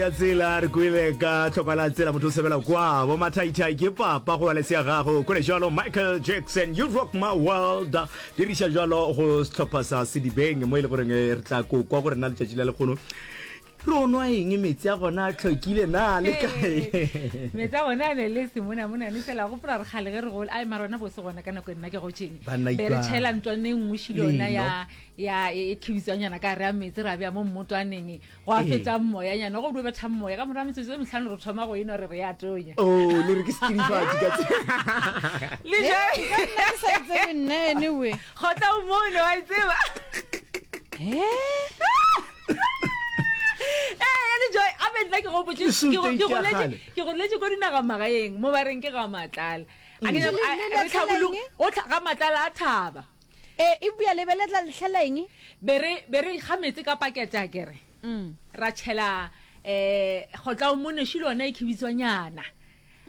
Ya tsela re kwele ka tlhokwa la tsela motho o sebela kwa bo mathaithai ke papa go ba ya gago kwele jalo Michael Jackson you rock my world diriša jalo go sehlopha sa Sedibeng mo e le goreng eh, re tla ko kwa gore na letšatši la lekgono re o nwa eng metsi a gona a tlhokile na le kae metsi a gona a ne le semonamonane fela gopola re kgale ge re gole ai mara ona bose gona ka nako e nna ke gotšeng Banna be re ikwa. tšhela ntlwane e nngwe šile yona Leno. ya ya e khibitswanyana ka re ya metsi ra bea mo mmotwaneng Gwa fetša moyanyana, go dio betha moya. Ka morago ga metsotso e mehlano re thoma go enwa re re ya tonya. Oh, le re ke setsidifatši ka tse. Le ja. Nka nna ke sa e tsebe nna anyway. Kgotla o mone wa e tseba. Eh? Eh, le joy, a be nna ke gopotše Ke suit ke go- e ke tša goletše kgale. ke goletše ko dinaga magaeng mo ba reng ke ga matlala. A ke Le- nyako- le- a- le re latlhela tlhabologo eng? o tlha ga matlala a thaba. E, eupša le be le tla lehlela eng? Be re, be re kga meetse ka pakete, a ke re. Ra tšhela um kgotlaomonešu le yona e khibitswanyana.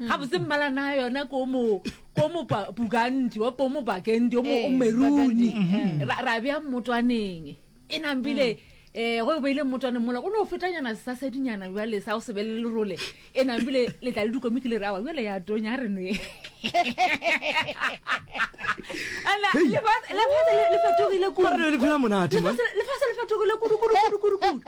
Gabotse mmala na yona ko mo, ko mo pa, burgundy, wa ko mo burgundy, o mo, o Ee, meruni. burgundy, eh. Ra, ra bea mmotwaneng. E nampile, um go e beile mmotwaneng mola, go no fetanyana sesasedinyana bjale sa go se be le lerole. E nampile le tla le dikomiki le re awa bjale ya tonya a re nwe. Ana lefase lefase le le fetogile kudu. Mara le phela monate man. Lefase lefase le fetogile kudu kudu kudu kudu kudu.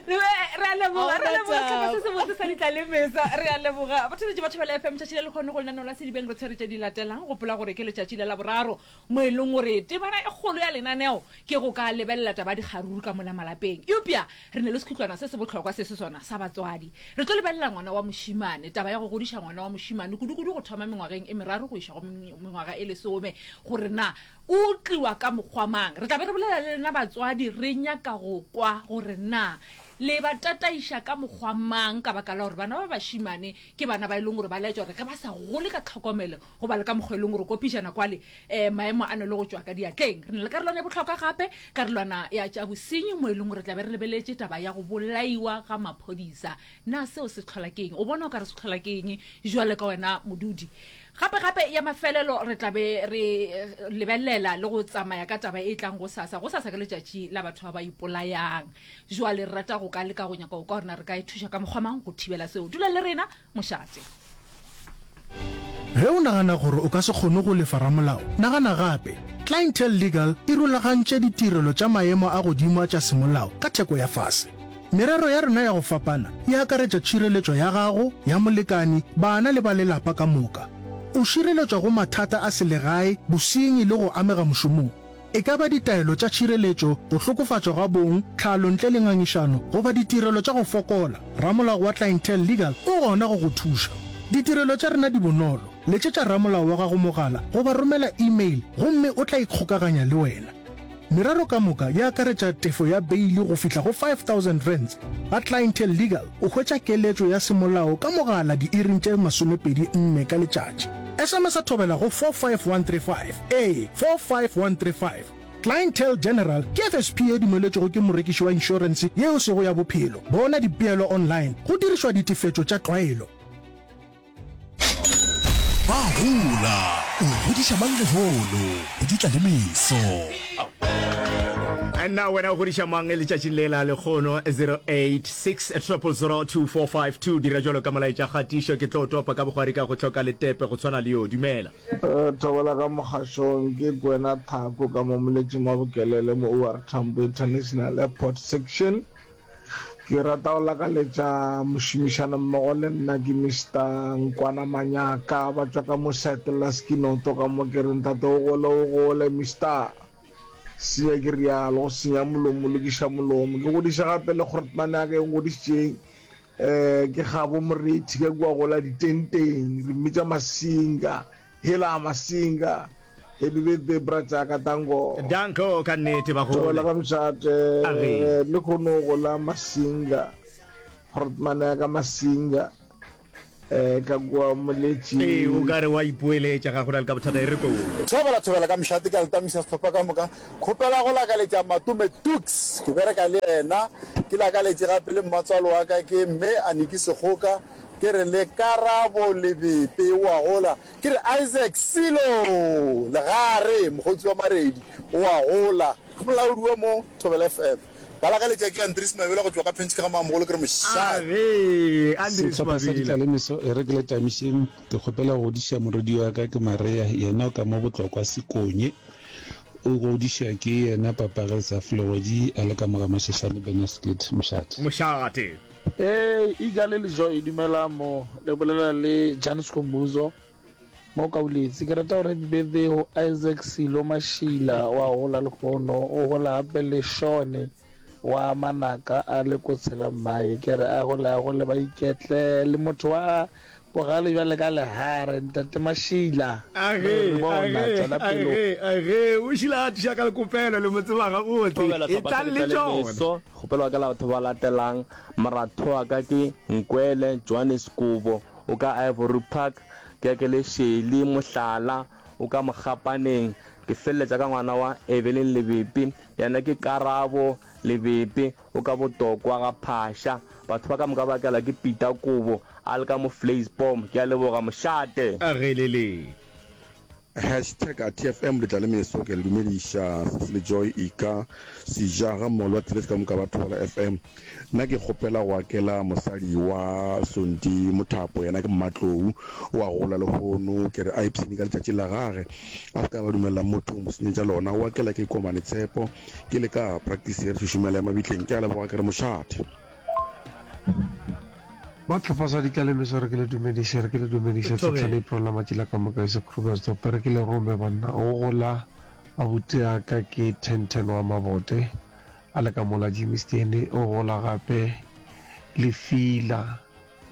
Re a leboga re a leboga sehlopha se sebotse sa ditlalemesa re a leboga batheletši ba Thobela FM tšatši le lekgono go lenaneo la Sedibeng re tshwere tše di latelang gopola gore ke letšatši la Laboraro mo e leng gore temana e kgolo ya lenaneo ke go ka lebelela taba ya dikgaruru ka mola malapeng. Eupša re ne le sekhutlwana se se bohlokwa se se sona sa batswadi. Re tlo lebelela ngwana wa mošemane, taba ya go godiša ngwana wa mošemane, kudu-kudu go thoma mengwageng e meraro go iša go mengwaga e lesome, gore na o tliwa ka mokgwa mang. Re tla be re bolela le lena batswadi, re nyaka go kwa gore na le ba tataiša ka mokgwa mang ka baka la gore bana ba bašemane ke bana ba e leng gore ba laetša gore ge ba sa gole ka tlhokomelo Go ba le ka mokgwa e leng gore ko pejana kwale um maemo a ne le go tšwa ka diatleng. Re na le karolwana ya bohlokwa gape, karolwana ya tša bosenyi mo e leng gore tla be re lebeletše taba ya go bolaiwa ga maphodisa. Na seo se hlola ke eng? O bona o ka re se hlola ke eng jwale ka wena modudi? Gape gape ya mafelelo re tla be re lebelela le go tsamaya ka taba e tlang gosasa. Gosasa ke letšatši la batho ba ba ipolayang. Jwale re rata go ka leka go nyaka go kwa gore na re ka e thuša ka mokgwa mang go thibela seo. Dula le rena mošate. Ge o nagana gore o ka se kgone go lefa ramolao, nagana gape. Clientele Legal e rulagantše ditirelo tša maemo a godimo a tša semolao ka theko ya fase. Merero ya rena ya go fapana e akaretša tšhireletšo ya gago, ya molekani, bana le ba lelapa ka moka. O šireletšwa go mathata a selegae, bosenyi le go amega mošomong. E ka ba ditaelo tša tšhireletšo, go hlokofatšwa ga bong, tlhalo ntle le ngangišano, goba ditirelo tša go fokola, ramolao wa Clientele Legal o gona go go thuša. Ditirelo tša rena di bonolo, letšetša ramolao wa gago mogala goba romela e-mail gomme o tla ikgokaganya le wena. Merero ka moka e akaretša tefo ya beili go fihla go R5000. Ga Clientele Legal o hwetša keletšo ya semolao ka mogala diiring tše 24 ka letšatši. SMS-a thobela go 45135. Ee, 45135. Clientele General ke FSP ye dumeletšwego ke morekiši wa inšorense ye e sego ya bophelo. Bona dipeelo online go dirišwa ditefetšo tša tlwaelo. Ba gola, o godiša mang lehono, go di tla le meso. Nna wena o godiša mang letšatšing le la lekgono 086 000 2452 dira jalo ka molaetša kgatišo ke tlo topa ka bogwari ka go hloka letepe go tshwana le yo dumela Thobela ka mogašong ke Kwena Thako ka mo Moletšing wa Bokelele mo OR Tambo International Airport Section. Ke rata go lakaletša mošomišanommogo le nna ke Mister Nkwana Manyaka ba tšwa ka mo site la Skinoto ka mo ke re ntate o gole o gole Mister Senya ke rialo go senya molomo lokiša molomo ke godiša gape le kgorotmane ya ka e ngodišitšeng Eh, ke Kgabo Morethi ka kua gola ditenteng, re mmitša Masinga. Hela Masinga. Happy birthday bra tšaka, danko. Danko ka nnete ba gole. Thobela ka mošate, Age. le kgono gola Masinga. Grootman ya ka Masinga. Eh, ka kua Moletši. Ee, o ka re wa ipoeletša, ga go na le ka bothata, e re ko. Thobela thobela ka mošate ke a le tamisa sehlopha ka moka. Kgopela go lakaletša Matome Tuks, ke bereka le yena. Ke lakaletše gape le mmatswalo wa ka ke Mme Aniki Sekgoka, ke re le Karabo Lebepe o a gola. Ke re Isaac Silo Legare, mokgotsi wa Maredi o a gola. Ke molaodi wa mo Thobela FM. Ba lakaletša ke Andries Mabela go tšwa ka Pentjke ga Mamogolo ke re mošate. Agee, Andries Sehlopha sa Mabela. Ditlalemeso e re ke le tamišeng, ke kgopela go godiša morwedi wa ka ke Maria, yena o ka mo Botlokwa Sekonye. O godišwa ke yena papage Saflegodi a le ka mo ga Mashashane Benasgate Mošate. Mošate. Ee, Iga le Lejoy dumelang mo, le bolela le Jan Skhumbuzo mo Kauletse. Ke rata gore happy birthday go Isaac Silo Mashila wa gola lehono, o gola gape le Shone wa Manaka a le ko tshela mmae. Ke re a gole a gole ba iketle le motho wa bogale bjale ka lehare ntate Mashila. Re Age, re bona age, tšwela pele. age, age, o šila a thuša ka lekopelo le mo tseba gabotse. Thobela hlopha sa Etlang le Letlale tšona. Meso, kgopelo wa ka la batho ba latelang, moratho wa ka ke Nkwele Johannes Kobo, o ka Ivory Park, ke ya ke le Shelly Mohlala, o ka Mogapaneng, ke feleletša ka ngwana wa Evelyn Lebepe, yena ke Karabo Lebepe, o ka Botokwa ga Phasha. Batho ba ka moka ba kelwa ke Peter Kobo, a le ka mo Vleisboom. Ke a leboga, mošate. A ge le le. Hashtag TFM le tla le meso ke le dumediša Sesi le Joy Ika Seja ga mmogo le batheeletši ka moka ba Thobela FM. Nna ke kgopela go akela mosadi wa Sonti Mothapo yena ke Mmatlou o a gola lehono ke re a ipshine ka letšatši la gage a se ka ba dumelela motho go mo senyetša lona o akela ke Komane Tshepo ke le ka practice ye re šošomela ya mabitleng ke a leboga ke re mošate. Ba tlhopha sa ditlalemeso re ke le dumediše re ke le dumediše Thobela. tlhotlha April la matšila ka moka ese Krugersdorp re ke le rome banna o gola abuti a ka ke ten ten wa mabote a le ka mola Germiston o gola gape le Fila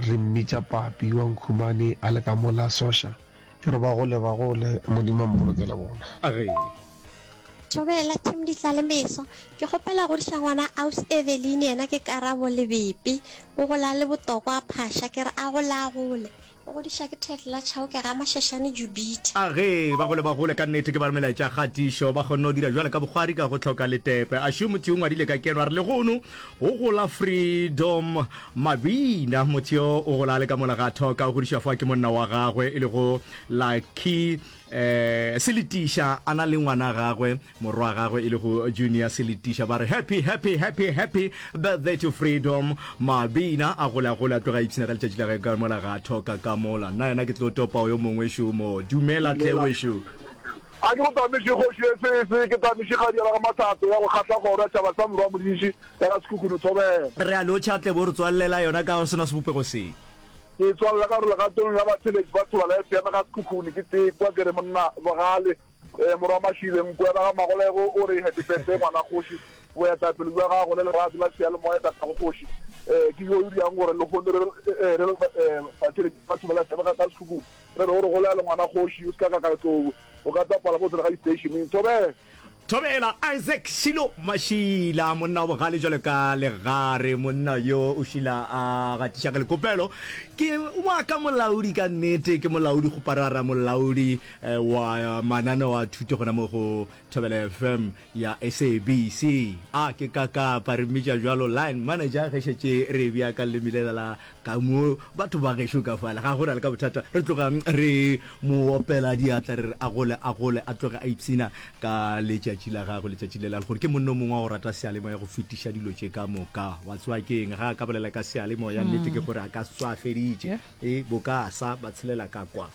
re mmitša papi wa Nkhumane a le ka mola Sosha Ke re ba gole ba gole, Modimo a mpolokele bona. A re. Thobela team Ditlalemeso. Ke kgopela godiša ngwana aus Eveline yena ke Karabo Lebepe o gola le Botokwa Phasha ke re a gole a gole. O godiša ke Ted la Chauke ga Mashashane Jubitha. A ge ba gole ba gole ka nnete ke ba re melaetša kgatišo ba kgonne go dira bjale ka bokgwari ka go hloka letepe. A šo motho yo ngwadile ka keno a re lehono go gola Freedom Mabina. Motho yo o gola a le ka mola ga Thoka o godišwa fa ke monna wa gagwe e lego Lucky eh Seletiša a na le ngwana gagwe morwa wa gagwe e lego Junior Seletiša ba re happy happy happy happy birthday to Freedom Mabina a gole a gole a tloga a ipshina ka letšatši la gagwe ka mola ga Thoka ka mola nna yena ke tlo topa yo mongwe šo mo dumela tle wešo. A ke go tamiše kgoši ye sese, ke tamiše kgadi ya ga Mathato ya go kgahla kgoro ya tšhaba sa Morwa Modiši ya ga Sekhukhune Thobela. Re a lotšha tle bo re tswallela yona ka sona sebopego se. Ke e tswalela ka gore legatong la batheeletši ba Thobela FM ga Sekhukhune ke tee kwa ke re monna Bogale Morwa Mashile Nkwela ga Magolego o re happy birthday ngwana kgoši boetapele bja gago le lerato la seyalemoya tatago kgoši ke yo dirang gore lehono re re batheeletši ba Thobela FM ga Sekhukhune Re re o re golele ngwana kgoši, o se ka ka ka tlou, o ka tsapala mo tsela ga distationeng. Thobela! Thobela, Isaac Shilo Mashila, monna wa bogale jwalo ka legare, monna yo o šila a gatiša ka lekopelo. Ke wa ka molaodi ka nnete, ke molaodi kgoparara, molaodi wa mananeo a thuto gona mo go Thobela FM ya SABC. A ke kakapa, re mmitša bjalo line manager ge šetše re e bea ka leleme lela la Ka mo batho ba gešo ka fale, ga go na le ka bothata. Re tloga re mo opela diatla, re re a gole, a gole, a tloge a ipshina ka letšatši la gagwe, letšatši le la lehono. Ke monna o mongwe wa go rata seyalemoya go fetiša dilo tše ka moka. Wa tseba ke eng? Ga a ka bolela ka seyalemoya, nnete ke gore a ka tswa a feditše. E, boka a sa ba tshelela ka kwa.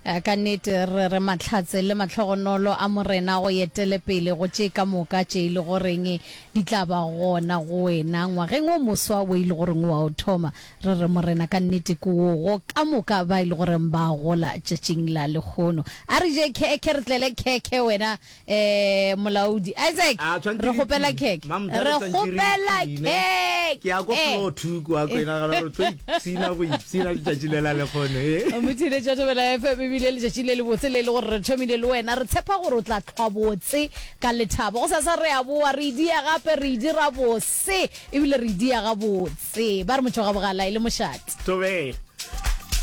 Ka nnete re re mahlatse le mahlogonolo a Morena go etele pele go tše ka moka tše e le goreng di tla ba gona go wena ngwageng o moswa wo e le goreng o a o thoma. Re re Morena ka nnete ke wo go ka moka ba e le goreng ba gola tšatšing la lehono. A re je khekhe re tlele khekhe wena Eh, molaodi Isaac, A tshwanetse re re kgopela ipshine. khekhe. Mamtha, Re re tshwanetse re kgopela ipshine. Ke ya ko khekhe. floor two kwa ko nagana gore tlo ipshina go ipshina letšatši le la lekgono e. Motheeletši wa Thobela FM, ebile letšatši le lebotse le e le gore re thomile le wena. Re tshepa gore o tla hlwa botse ka lethabo. Gosasa re a boa, re e dia gape, re e dira bose, ebile re e dia gabotse. Ba re motho ga bogala e le mošate. Thobela.